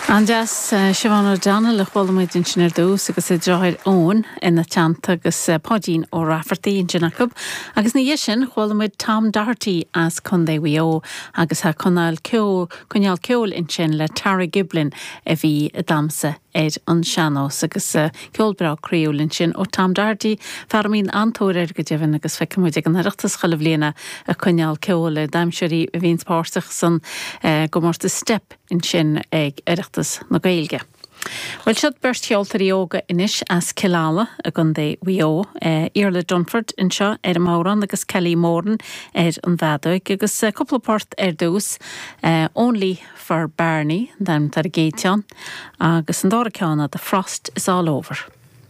An-deas. Siobhán O'Donnell a chuala muid ansin ar dtús agus a deartháir Eoin ina teannta agus Páidín Ó Raifeartaigh ansin acu. Agus ina dhiaidh sin chuala muid Tom Doherty as Contae Mhaigh Eo agus tá coinneáil ceoil, coinneáil ceoil ansin le Tara Giblin a bhí ag damhsa ar an sean-nós agus ceol breá croíúil ansin ó Tom Doherty, fear a mbíonn an-tóir air go deimhin agus feiceann muid ag an Oireachtas chuile bhliain é ag coinneáil ceoil ar damhsóirí a bhíonns páirteach san gcomórtas Steip ansin ag Oireachtas na Gaeilge. Bhuel, siod beirt cheoltóirí óga anois as Cill Ala i gContae Mhaigh Eo, Iarla Dunford anseo ar an mbodhrán agus Kelly Moran ar an bhfeadóig agus cúpla port ar dtús, Only for Barney an t-ainm atá ar an gcéad cheann agus an dara ceann ná The Frost is All Over.